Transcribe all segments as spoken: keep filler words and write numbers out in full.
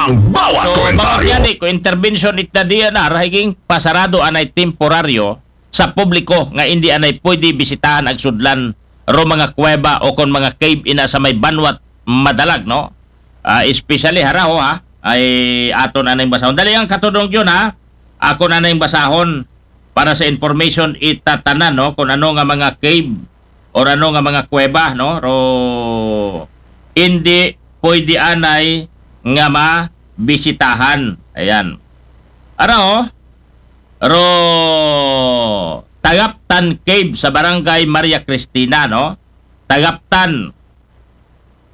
Ang bawat So, mga komentaryo. Kuyani, kung intervention ita D N R, higing pasarado anay temporaryo sa publiko nga hindi anay pwede bisitahan ag sudlan ro mga kuweba o kon mga cave ina sa may banwat madalag, no? Ah, especially haraho, ha, ay aton anay basahon. Dali ang katudong yun, ha? Ako na anay basahon para sa information itatanan, no? Kung ano nga mga cave or ano nga mga kuweba, no? Ro, hindi pwede anay nga mabisitahan. Ayan. Ano? Ro, Tagaptan Cave sa Barangay Maria Cristina, no? Tagaptan.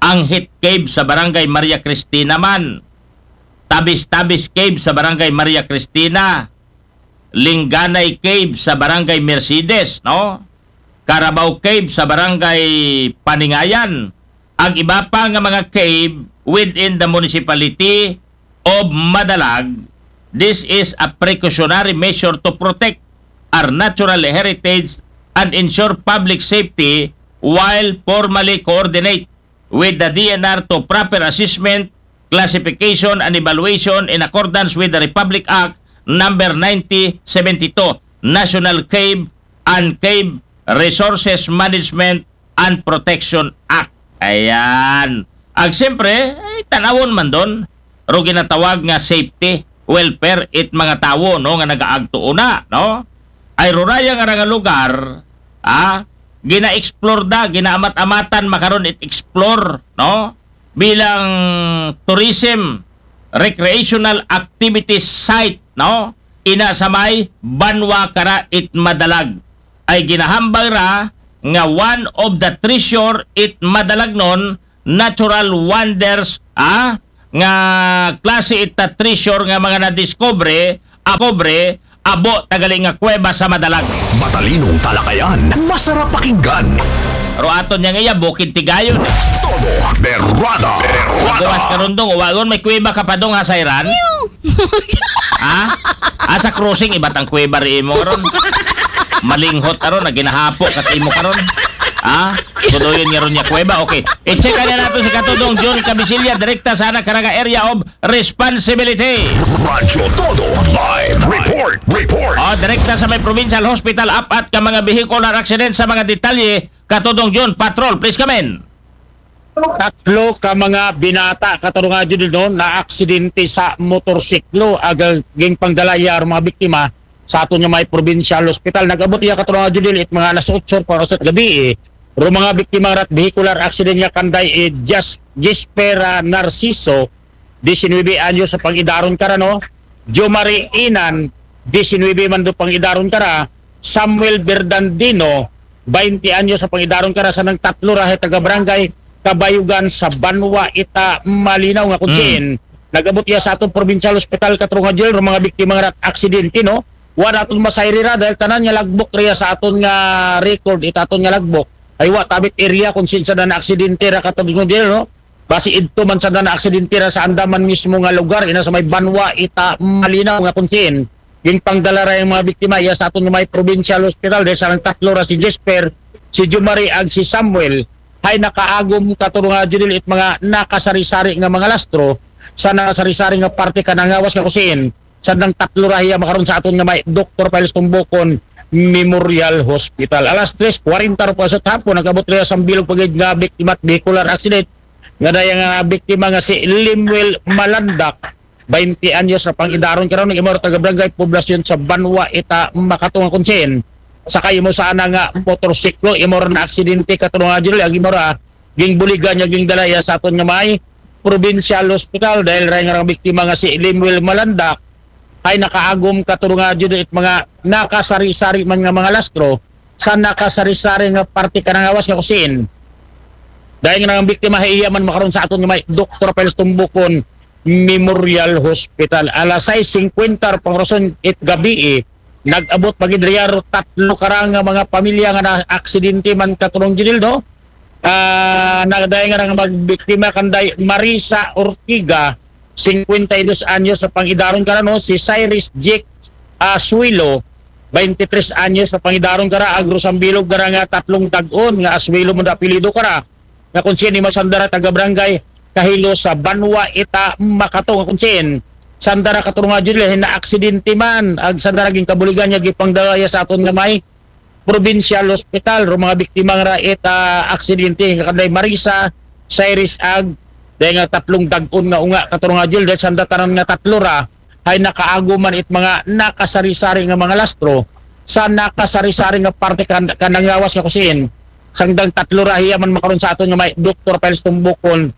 Anghit Cave sa Barangay Maria Cristina man. Tabis-Tabis Cave sa Barangay Maria Cristina. Lingganay Cave sa Barangay Mercedes, no? Carabao Cave sa Barangay Paningayan. Ang iba pa nga mga cave within the municipality of Madalag, this is a precautionary measure to protect our natural heritage and ensure public safety while formally coordinate with the D N R to proper assessment, classification, and evaluation in accordance with the Republic Act number ninety seventy-two, National Cave and Cave Resources Management and Protection Act. Ayan. Ag siyempre, ay, tanawon man doon, ro ginatawag nga safety, welfare, it mga tawo, no, nga nagaagto una, no? Ay ruraya nga nga lugar, ah, gina-explore da, ginaamat-amatan makaron it explore, no? Bilang tourism, recreational activities site, no? Ina sa may banwa kara it Madalag. Ay ginahambal ra nga one of the treasure it Madalagnon natural wonders, ah, nga klase ita treasure nga mga nadiscovery, akobre, abo tagali nga kuweba sa Madalag. Matalinong talakayan, masarap pakinggan. Pero aton niyang iya, Bukid Tigayon. Todo berrada. Bukas Berrada. Karundong, uwagon may kuweba ka pa dong ha Sayran? Ha? Asa crossing, ibat ang kuweba ri imo ron. Malinghot aron, naginahapo kat imo karon. Ha? Kudoyon nga ron niya kuweba. Okay. I-check na nato si Katudong John Cabisilya, direkta sa anak karaga area of responsibility. Radyo Todo live report. Report. O, direkta sa may provincial hospital, apat ka mga vehicular accident sa mga detalye. Katudong John, patrol, please come in. Tatlo ka mga binata, katarunga jud no, na aksidente sa motorsiklo, aga ging pangdalaya ang mga biktima sa aton nga may provincial hospital. Nag-abot iya katarunga jud it mga alas otso pa sa gabi eh. Ro mga biktima rat vehicular accident nga kanday eh, Jas Gispera Narciso, disinuybe anyos sa pangidaron kara, no? Jomari Inan, disinuybe man do pangidaron kara. Samuel Berdandino, baynte anyos sa pangidaron kara, sa nang tatlo ra taga barangay Kabayugan sa Banwa ita Malinaw nga kung Mm. siin. Nagabot iya sa atong provincial hospital katarunga jud ro mga biktima nga aksidente, no? Wa naton masayri ra dahil tanan nga lagbok riya sa aton nga record, ita aton nga lagbok. Ay wa tabit area kung sinsa na aksidente ra katarunga jud, no? Basi idto man sa na aksidente ra sa andaman mismo nga lugar, ina sa may Banwa ita Malinaw nga kung siin. Ging pangdala ra ang mga biktima iya sa aton nga may provincial hospital dahil sa nang tatlo ra si Jesper, si Jumari ag si Samuel. Hay nakaagom katarunga jud it mga nakasari-sari nga mga lastro sa nakasari-sari nga parte kanang ngawas nga kung siin. Sa nang tatlo ra hiya makaron sa aton nga may Doktor Piles Tumbukon Memorial Hospital. Alas tres kwarenta ro pa sa hapon, nagabot riya sa bilog pagid nga biktima at vehicular accident nga daya nga biktima nga si Lemuel Malandak, baynte anyos sa pangidaron karon, imo ra taga barangay poblasyon sa Banwa ita Makatunga Kunsin. Sakay mo sa ana nga motorsiklo, imo ra na aksidente katarunga jud ag imo ra ging buligan niya ging dala iya sa aton nga may provincial hospital dahil ra nga biktima nga si Lemuel Malandak ay nakaagom katarunga jud it mga nakasari-sari man nga mga lastro sa nakasari-sari nga parte kanang ngawas nga kung siin. Dahil nga ang biktima ay iya man makaron sa aton nga may Doktor Piles Tumbukon Memorial Hospital. Alas sais singkwenta pang rason it gabi eh. Nag-abot pagid riya ro tatlo kara nga mga pamilya nga na aksidente man katarunga jud, no? Ah, nagdaya nga nga magbiktima kanday Marisa Ortiga, singkwenta y dos anyos sa pangidaron kara, no? Si Cyrus Jake Asuelo, baynte tres anyos sa pangidaron kara, agro sambilog kara nga tatlong tag-on nga Asuelo mo apelyido kara. Nga kung sini masandara taga barangay kahilo sa banwa ita Makato nga kung siin. Sanda ra katurong nga Judel, hinaaksidente man, ag sanda ra ginkabuligan niya gipangdala iya sa aton nga may provincial hospital. Ro mga biktima nga ra ita aksidente nga kanday Marisa, Cyrus ag day nga tatlong dag-on nga unga katurong nga Judel, dahil sanda tanan nga tatlo ra hay nakaagom man it mga nakasari-sari nga mga lastro sa nakasari-sari nga parte kan kanang lawas nga kusiin. Sangdang tatlo ra hiya man makaron sa aton nga may Doktor Piles Tumbukon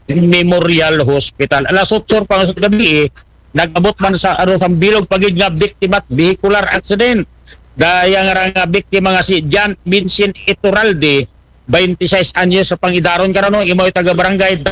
Memorial Hospital. Alas otso pa nga gabi, eh, nag-abot man sa aro sa bilog pagid nga biktima at vehicular accident. Daya nga ra nga biktima nga si John Vincent Ituralde, twenty-six anyos sa pangidaron karon, no? Imo taga barangay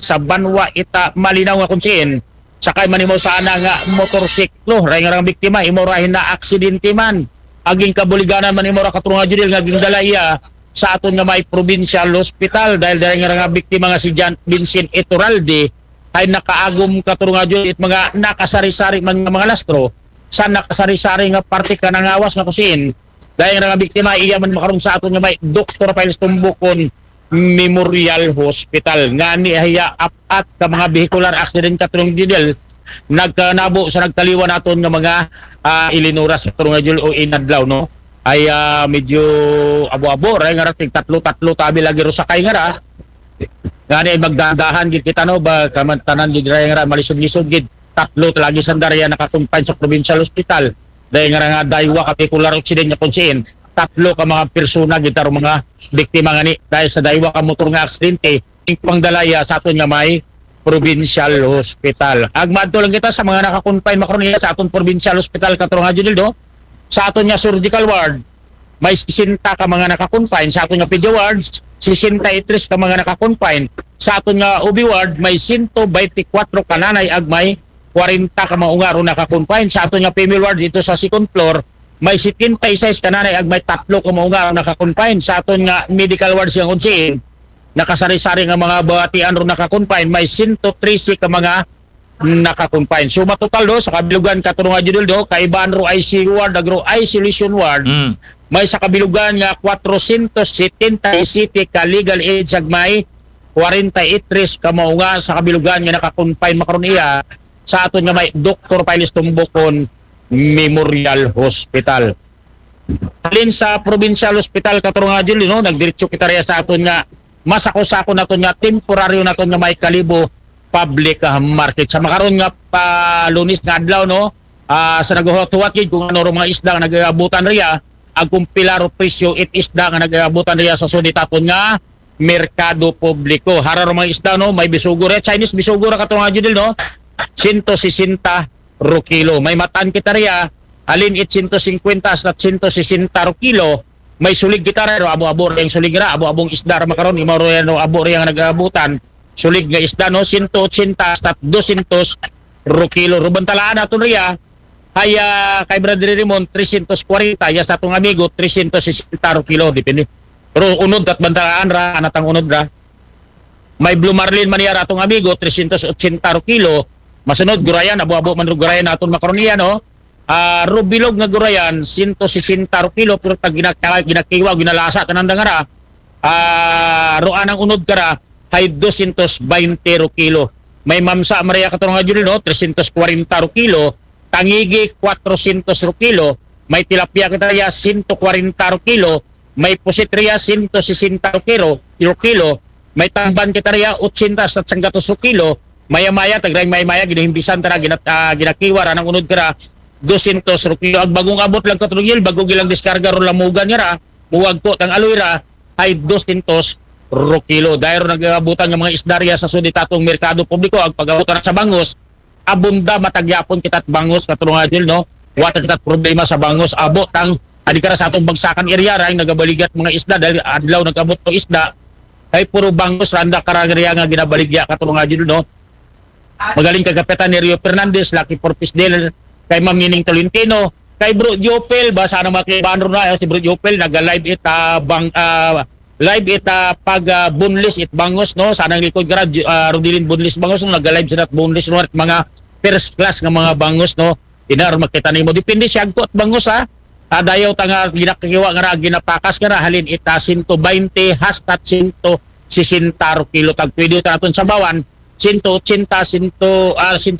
sa Banwa ita Malinaw nga kung siin. Sakay man imo sa ana nga motorsiklo, ray nga ra nga biktima, imo ra hinaaksidente man. Aging kabuliganan man imo ra katurong nga Judel nga gindala iya sa aton nga may provincial hospital dahil dahil nga ra nga biktima nga si John Vincent Ituralde ay nakaagom katurong nga Judel it mga nakasari-sari man nga mga lastro sa nakasari-sari nga parte kanang lawas nga kusiin. Dahil nga ra nga biktima iya man makaron sa aton nga may Doktor Piles Tumbukon Memorial Hospital. Ngani hiya apat ka mga vehicular accident katurong Judel nagkanabo sa nagtaliwan naton nga mga ah, ilinuras katurong nga Judel o inadlaw, no? Ay ah, medyo abo-abo, ray nga ra tig tatlo-tatlo tabi lagi ro sakay nga ra. Ngani ay magdahan-dahan gid kita, no, ba kaman tanan gid ray nga ra malisod-lisod gid. Tatlo ta lagi sanda ra iya nakakonfine sa provincial hospital. Dahil nga ra nga daywa ka vehicular accident nga kung siin, tatlo ka mga persona gid taro mga biktima ngani dahil sa daywa ka motor nga aksidente, ing pangdala iya sa aton nga may provincial hospital. Ag maadto lang kita sa mga nakakonfine makaron iya sa aton provincial hospital katurong nga Judel, no? Sa aton nga surgical ward, may sesenta ka mga nakakonfine. Sa aton nga pedia wards, sesenta y tres ka mga nakakonfine. Sa aton nga O B ward, may sento baynte kwatro ka nanay ag may kwarenta ka mga unga ro nakakonfine. Sa aton nga female ward dito sa second floor, may setenta y seis ka nanay ag may tatlo ka mga unga ro nakakonfine. Sa aton nga medical ward sa kung siin, nakasari-sari nga mga batian ro nakakonfine, may sento trese ka mga nakakonfine. So matotal do sa kabilugan katurong nga Judel, do, kaibahan ro I C U ward ag ro isolation ward, Mm. may sa kabilugan nga kwatrosyentos setenta y siyete ka legal age ag may kwarenta y tres ka mga unga sa kabilugan nga nakakonfine makaron iya sa aton nga may Doktor Piles Tumbukon Memorial Hospital. Halin sa provincial hospital katurong nga Judel, no, nagdiretso kita riya sa aton nga masako-sako naton nga temporaryo naton nga may Kalibo public ah, market. Sa makaron nga pa Lunes nga adlaw, no, ah, sa naghuwat-huwat gid kung ano ro mga isda nga nagabutan riya, ag kung pila ro presyo it isda nga nagabutan riya sa suditaton nga merkado publiko. Hara ro mga isda, no, may bisugo riya, Chinese bisugo ra katurong nga Judel, no, sento sesenta ro kilo. May matan kita riya, halin it sento singkwenta hasta sento sesenta ro kilo. May sulig kita ra, ro abo-abo ra ing sulig ra, abo-abong isda ra makaron, imo ro yan, ro abo ra yang nagabutan. Sulig nga isda, no, sento otsenta hasta dosyentos ro kilo. Ro bantalaan naton riya, hay ah, kay Brother Raymond, tresyentos kwarenta, ya sa atong amigo, tresyentos sesenta ro kilo, depende. Pero unod kat bantalaan ra, anatang unod ra. May blue marlin man iya ra atong amigo, tresyentos otsenta ro kilo. Masunod, gurayan, abo-abo man ro gurayan naton makaron iya, no? Ah, ro bilog nga gurayan, sento sesenta ro kilo, pero tag ginaka-, ginakiwa, ginalasa, kananda nga ra. Ah, ro anang unod ka ra, hay dosyentos baynte ro kilo. May mamsa man riya katurong nga Judel, no, tresyentos kwarenta ro kilo. Tangigi, kwatrosyentos ro kilo. May tilapia kita riya, sento kwarenta ro kilo. May pusit riya, sento sesenta ro kilo, ro kilo. May tamban kita riya, otsenta hasta sanggatos ro kilo. Maya-maya, tag ray maya-maya, ginahimbisan ta ra, ginat-, ah, ginakiwa ra, nang unod ka ra, dosyentos ro kilo. Ag bagong abot lang katurong Judel, bago gilang diskarga ro lamugan nga ra, muwagko tang aloy ra, hay dosyentos ro kilo. Dahil ro nagabutan nga mga isda riya sa suditaton merkado publiko, ag pag-abot ra sa bangos, abunda matag gihapon kita it bangos katurong nga Judel, no? Wa ta kita problema sa bangos, abo tang adi ka ra sa atong bagsakan area ra, ing nagabaligya it mga isda, dahil adlaw nag-abot ro isda, hay puro bangos ra anda ka ra riya nga ginabaligya katurong nga Judel, no? Magaling kay Kapitan Nerio Fernandez, Lucky Four Piece Dealer, kay Ma'am Nining Tolentino, kay Bro Jopel, ba sana mga kaibahan ro na, eh, si Bro Jopel, naga-live it ah, bang, ah, live it ah, pag ah, boneless it bangos, no? Sa anang likod ka ra, Ju-, ah, Rodilin Boneless Bangos, no? Naga-live sila boneless, no? At mga first class nga mga bangos, no? Ina ro makita nimo. Depende siya agko it bangos, ha? Ah, dayaw ta nga ginakiwa nga ra, ginapakas nga ra, halin it ah, sento baynte hasta sento sesenta ro kilo tagtuydi, utan aton sabawan, sento ochenta, sento, ah,